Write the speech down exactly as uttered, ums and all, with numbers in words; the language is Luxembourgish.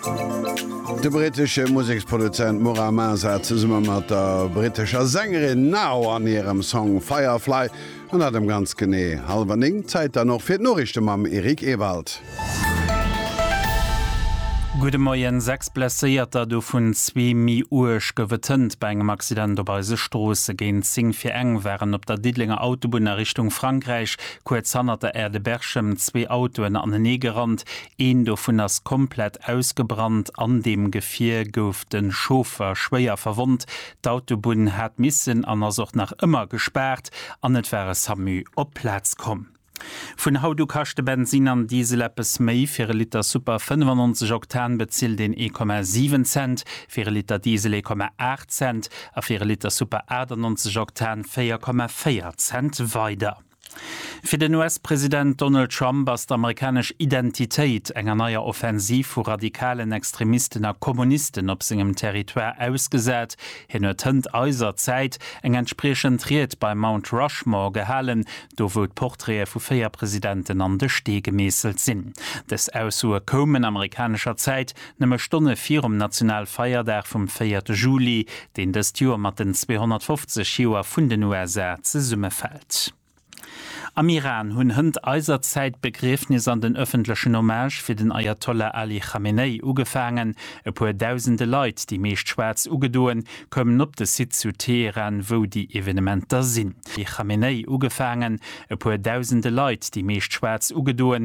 De brittesche Museksproduzent Mura Masa zesumme mat der brittescher Sängerin Nao an hirem Song Firefly an dat ëm ganz genee hallwer néng. Zäit dann och fir d'Noriichte mam Eric Ewald. Gudde Moien. Sechs Blesséierter, dovun zwee méi uerg, gouf et hënt bei engem Accident op eise Stroosse. Géint zéng vir eng waren op der Diddelenger Autobunn a Richtung Frankräich kuerz hannert der Aire de Berchem zwee Autoen aneneegerannt. Een dovun ass komplett ausgebrannt. An deem Gefier gouf de Chauffer schwéier verwonnt. D'Autobunn hat missen an ass och nach ëmmer gespaart an et war e Samu op d'Plaz komm. Vun haut u kaschte Bensin an Diesel eppes méi, Fir e Liter Super fënnefannonzeg Oktan bezilt een ee Komma siwen Cent, fir e Liter Diesel ee Komma aacht Cent a fir e Liter Super achtannonzeg Oktan véier Komma véier Cent weider. Fir den U S-President Donald Trump ass d'amerikanesch Identitéit enger neier Offensiv vu radikalen Extremisten a Kommunisten op sengem Territoire ausgesat. Hien huet hënt eiser Zäit eng entspriechend Ried beim Mount Rushmore gehalen, do wou d'Portraite vu véier Presidenten an de Stee gemeesselt sinn. Dës Aussoe koumen amerikanescher Zäit nëmme Stonne virum Nationalfeierdag vum véierte Juli, deen dëst Joer mat den zweehonnertfofzeg Joer vun den U S A zesummefält. Am Iran hunn hënt eiser Zäit d'Begriefnis an den ëffentlechen Hommage fir den Ayatollah Ali Khamenei ugefaangen. E puer dausende Leit, déi meescht schwaarz ugedoen, koumen op de Site zu Teheran, wou déi Evenementer sinn. Khamenei ugefaangen. E puer dausende Leit, déi meescht schwaarz ugedoen,